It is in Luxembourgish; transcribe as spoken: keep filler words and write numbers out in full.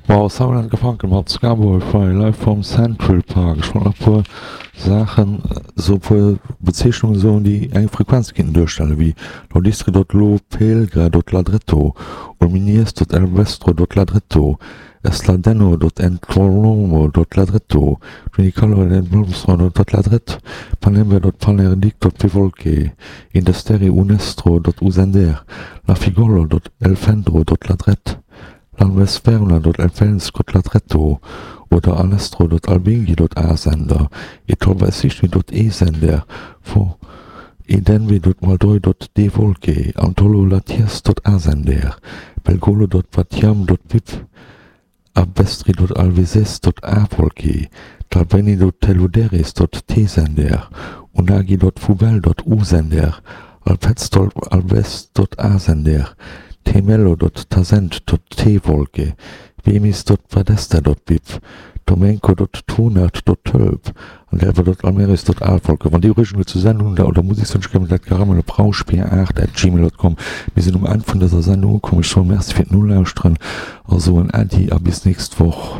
Wow, Simon and Garfunkel mat Scarborough Fair live from Central Park. Ech wollt nach e puer Saachen, sou e puer Bezeechnungen soen, déi eng Frequenz kéinten duerstellen, wéi Lodistri dot lo pelgra dot ladretto, Ulminies dot elvestro dot ladretto, Esladenno dot entolomo dot ladretto, Junicallo dot enblomstro dot ladret, Panembe dot panerdic dot pivolque, Indesteri unestro dot usender, Lafigollo dot elfendro dot ladret, Lanvesperna dot elfens dot ladretto oder Alestro dot albingi dot asender, Etolvaesichni dot esender, Fo edenvi dot maldoi dot devolque, Antolo latiers dot asender, Belgolo dot batiam dot pip, Abvestri dot alveses dot avolque, Talveni dot teluderis dot tsender, Unagi dot fubel dot usender, Alpetz dot alves dot asender, Temello dot tasent dot tvolke, Vemis dot vadester dot bip, Tomenko dot tonert dot tölp, Andelva dot almeris dot alvolke. Wann Dir Ureegungen zur Sendung hunn oder Musekswënsch kënnt dat gare op rauschbier aacht at gmail dot com. Mir sinn um Enn vun dëser Sendung ukomm. Ech soen Merci fir d'Nolauschteren a soen Äddi a bis nächst Woch.